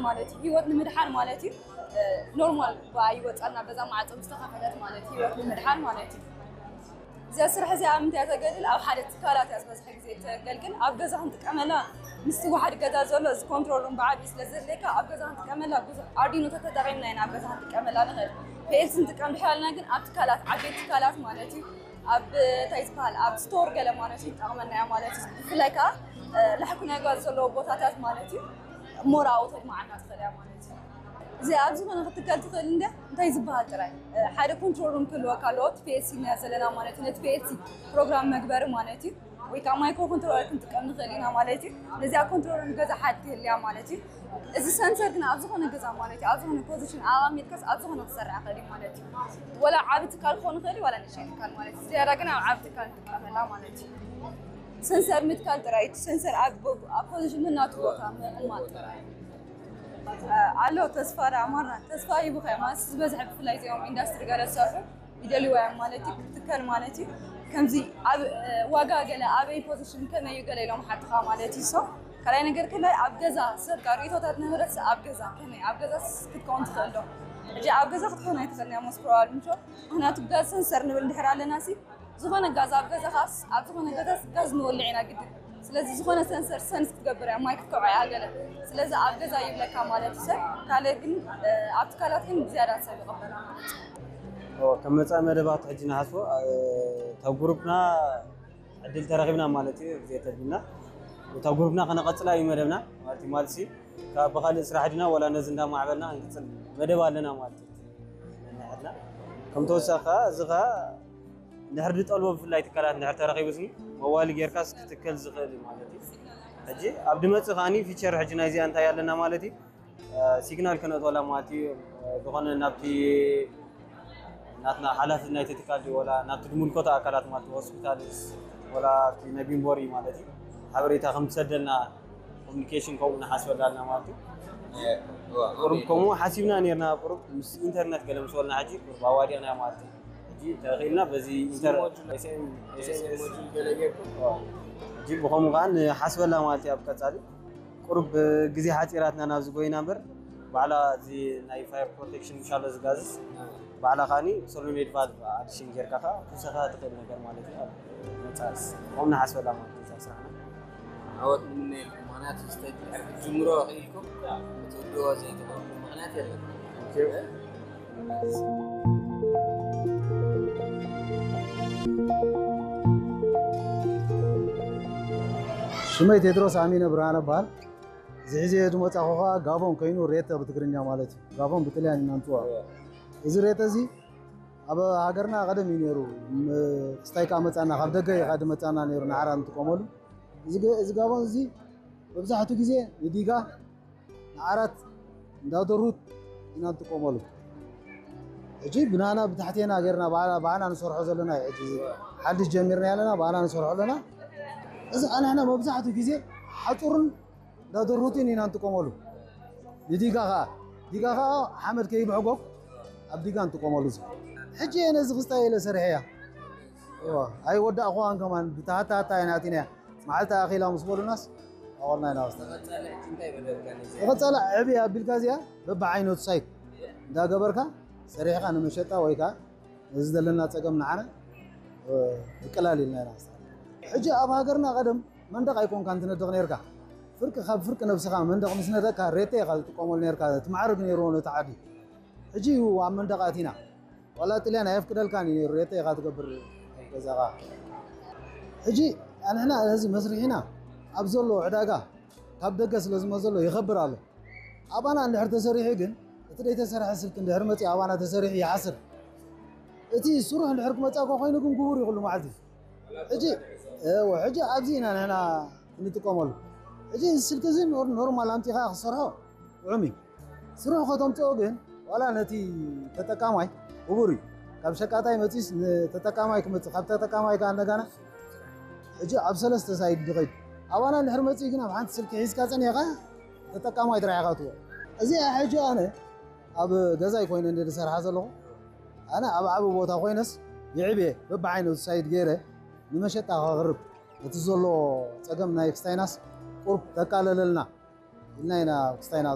ማለት እዩ። ህይወት ንምድሓን ማለት እዩ። ኖርማል ብኣይ ወፃና በዛ ማዕፆ ምስ ተኸፈተት ማለት እዩ፣ ህይወት ንምድሓን ማለት እዩ። እዚኣ ስራሕ እዚኣ ኣብ ምንታይ እያ ተገልግል? ኣብ ሓደ ትካላት እያ ዝበዝሐ ግዜ ተገልግል። ኣብ ገዛ ክንጥቀመላ ምስቲ ዋሓድ ገዛ ዘሎ እዚ ኮንትሮል ሩም ብዓብዩ ስለ ዘድልየካ ኣብ ገዛ ክንጥቀመላ ብዙሕ ኣርዲኖታት ተጠቒምና ኢና ኣብ ገዛ ክንጥቀመላ ንኽእል። ፒኤልሲ ንጥቀም ድሕር ኣልና ግን ኣብ ትካላት፣ ዓበይቲ ትካላት ማለት እዩ፣ ኣብ እንታይ ዝበሃል፣ ኣብ ስቶር ገለ ማለት እዩ፣ ይጠቕመና እያ ማለት እዩ። ብፍላይ ከዓ ላሕኩ ናይ ጓዝ ዘለዎ ቦታታት ማለት እዩ፣ ሞር ኣብኡ ተድማዓና ትኽእል እያ ማለት እዩ። እዚ ኣብ ዝኾነ ክትከል ትኽእል እንደ እንታይ ዝበሃል ጥራይ ሓደ ኮንትሮል ሩም ክህልወካ ኣለዎ። እቲ ፒኤልሲ ኢና ዘለና ማለት እዩ፣ ነቲ ፒኤልሲ ፕሮግራም መግበሪ ማለት እዩ። ወይ ከዓ ማይክሮ ኮንትሮለር ክንጥቀም ንኽእል ኢና ማለት እዩ። ነዚኣ ኮንትሮል ሩም ገዛ ሓንቲ ትህልያ ማለት እዩ። እዚ ሰንሰር ግን ኣብ ዝኾነ ገዛ ማለት እዩ፣ ኣብ ዝኾነ ፖዚሽን ኣቐሚጥካስ ኣብ ዝኾነ ክሰርሕ ይኽእል እዩ ማለት እዩ። ወላ ዓቢ ትካል ክኾን ይኽእል እዩ፣ ዋላ ንእሽተይ ትካል ማለት እዩ። ዝያዳ ግን ኣብ ዓቢ ትካል ንጥቀመላ ማለት እዩ። ሰንሰር ምትካል ጥራይ፣ እቲ ሰንሰር ኣብ ቦ-፣ ኣብ ፖዚሽን ናቱ ቦታ ምቕማጥ ጥራይ። ኣሎ ተስፋ ደኣ ማራ፣ ተስፋ ሂቡኻ ማለት ዝበዝሐ ብፍላይ እዚኦም ኢንዳስትሪ ገለ ዝሰርሑ ይደልይዋ እዮም ማለት እዩ፣ ክትከል ማለት እዩ። ከምዚ ኣብ ዋጋ ገለ ኣበይ ፖዚሽን ከመይ እዩ ገለ ኢሎም ሓትኻ ማለት እዩ። ሶ ካልኣይ ነገር ከላይ ኣብ ገዛ ሰብ ጋር ርእይቶታት ንህብረት ኣብ ገዛ ከመይ ኣብ ገዛ ክትከውን ትኽእል ዶ? ሕጂ ኣብ ገዛ ክትከውን ኣይትኽእል እያ ሞስት ፕሮባብሊ ምሾ። ምኽንያቱ ጋዝ ሰንሰር ንብል እንድሕር ኣለና ሲ ዝኾነ ጋዝ ኣብ ገዛኻስ ኣብ ዝኾነ ገዛስ ጋዝ ንወልዕ ኢና ግድን። ስለዚ ዝኾነ ሰንሰር ሰንስ ክትገብር እያ፣ ማይ ክትከብዖ እያ ገለ። ስለዚ ኣብ ገዛ ይብለካ ማለት እዩ ሰብ። ካልእ ግን ኣብ ትካላት ግን ብዝያዳ ሰብ ይቐበላ ማለት እዩ። ከም መፃኢ መደባት ሕጂ ንሓስቦ እታ ጉሩፕና ዕድል ተረኺብና ማለት እዩ። ግዜ ተቢልና እታ ጉሩፕና ከነቐፅላ እዩ መደብና ማለት እዩ። ማልሲ ካብ ብካልእ ስራሕ ድና ወላ ነዚ እንዳማዕበልና ክንቅፅል መደብ ኣለና ማለት እዩ። ነንሕድና ከም ተወሳኺ ከዓ እዚ ከዓ እንድሕር ዝጠልቦ ብፍላይ ትካላት እንድሕር ተረኺቡስ መዋሊ ጌርካስ ክትከል ዝኽእል እዩ ማለት እዩ። ሕጂ ኣብ ድመፅእ ከዓኒ ፊቸር ሕጂ ናይዚኣ እንታይ ኣለና ማለት እዩ። ሲግናል ከነእትወላ ማለት እዩ። ዝኾነ ናብቲ ናትና ሓላፊ ናይቲ ትካል ድዩ ወላ ናብቲ ዝምልከቶ ኣካላት ማለት ሆስፒታልስ ወላ ኣብቲ ናይ ቢንቦሪ ማለት እዩ ሓበሬታ ከም ትሰደልና ኮሚኒኬሽን ከምኡ ንሓስበላ ኣለና ማለት እዩ። ቁሩብ ከምኡ ሓሲብና ነርና ቁሩብ ምስ ኢንተርነት ገለ ምስ በልና ሕጂ ቁሩብ ኣዋዲቕና ማለት እዩ። ሕጂ ተኽኢልና በዚ ኢንተር ሕጂ ብኸምኡ ከዓ ንሓስበላ ማለት እዩ ኣብ ቀፃሊ ቁሩብ ግዜ ሓፂራትና ናብዚ ጎይና እምበር ባዕላ እዚ ናይ ፋየር ፕሮቴክሽን ምሻሎ ዝጋዝስ ባዕላ ከዓኒ ሶሎሜድ ቫልቭ ኣዲሽን ጌርካ ከዓ ክውሰኻ ትኽእል ነገር ማለት እዩ። መፃስ ከምኡ ንሓስበላ ማለት እዩ እዛ ስራሕና። ዓወት ንምነየልኩም። ምክንያቱ ስቴጅ ድሕሪ ክትጅምሮ ክኢልኩም ክትውድዎ ዘይትኽእሉ ምክንያት የለን። ሽመይ ቴድሮስ ኣሚነ ብርሃነ በሃል። እዚ ሕዚ ዝመፃኹ ከዓ ጋቦን ኮይኑ ሬተ ብትግርኛ ማለት እዩ። ጋቦን ብጥልያን ኢና ንፅውዖ። እዚ ሬተ እዚ ኣብ ሃገርና ቀደም እዩ ነይሩ። ክስታይ ከዓ መፃና ካብ ደገ እዩ ከዓ ድመፃና ነይሩ ንዓራት ንጥቀመሉ። እዚ ጋቦን እዚ መብዛሕትኡ ግዜ ንዲጋ ንዓራት እንዳደሩት ኢና ንጥቀመሉ። ሕጂ ብናና ብታሕቴና ጌርና ባዕና ንሰርሖ ዘለና እዩ። ሕጂ ሓድሽ ጀሚርና ያለና ባዕና ንሰርሖ ኣለና። እዚ ኣንሕና መብዛሕትኡ ግዜ ሓፁርን እንዳደሩትን ኢና ንጥቀመሉ። ንዲጋ ከዓ ዲጋ ከዓ ሓመድ ከይብሕጎግ ኣብ ዲጋ ንጥቀመሉ። እዚ ሕጂ እየ ነዚ ክስታይ ኢለ ሰሪሐያ ኣይወዳእኩዋን ከማን ብታሃታሃታ እየ ናቲናያ። መዓልቲ ኣኺላ ምስ በሉናስ ኣወልና ኢና ወስዳ። ተቐፃላ ዕብየ ኣቢልካ እዚኣ በብዓይነቱ ሳይት እንዳገበርካ ሰሪሕካ ንመሸጣ ወይ ከዓ ነዚ ዘለና ፀገም ንዓና ብቀላል ኢልና ኢና ወስዳ። ሕጂ ኣብ ሃገርና ቀደም መንደቕ ኣይኮንካን ትነድቕ ነርካ። ፍርቂ ካብ ፍርቂ ነብስኻ መንደቕ ምስ ነደቕካ ሬቴ ኢኻ ትጥቀመሉ ነርካ። ትማዕርግ ነይርዎ ነቲ ዓዲ። ሕጂ እዩ ኣብ መንደቕ ኣቲና። ዋላ ጥልያን ኣየፍቅደልካን እዩ ነይሩ ሬተ ኢኻ ትገብር ገዛኻ። ሕጂ ኣንሕና ነዚ መስርሒና ኣብ ዘሎ ዕዳጋ ካብ ደገ ስለ ዝመዘሎ ይኸብር ኣሎ። ኣባና እንድሕር ተሰሪሑ ግን እቲ ደይተሰርሐ ስልኪ እንድሕር መፂኡ ኣባና ተሰሪሑ ይሓስር። እቲ ስሩሕ እንድሕር ክመፃእኮ ኮይኑ ግን ግቡር ይኽሉ መዓልቲ ሕጂ ሕጂ ኣብዚ ኢና ንሕና እንጥቀመሉ። ሕጂ ስልኪ እዚ ኖርማል ኣምፂኻ ክሰርሖ ጥዑም እዩ። ስሩሕ ከተምፅኦ ግን ዋላ ነቲ ተጠቃማይ ክቡር እዩ። ካብ ሸቃጣይ መፂስ ንተጠቃማይ ክመፅእ ካብ ተጠቃማይ ከዓ እንደገና ሕጂ ኣብ ሰለስተ ሳይድ ድኸይድ ኣባና እንድሕር መፅእ ግን ኣብ ሓንቲ ስልኪ ሒዝካ ፀኒኻ ተጠቃማይ ጥራሕ ኢኻ ትዎ። እዚኣ ሕጂ ኣነ ኣብ ገዛይ ኮይነ እንደ ዝሰርሓ ዘለኹ ኣነ ኣብ ዓቢ ቦታ ኮይነስ ይዕብየ በብዓይነቱ ሳይድ ገይረ ንመሸጣ ከቕርብ እቲ ዘሎ ፀገም ናይ ክስታይናስ ቁርብ ተቃለለልና ኢልና ኢና ክስታይና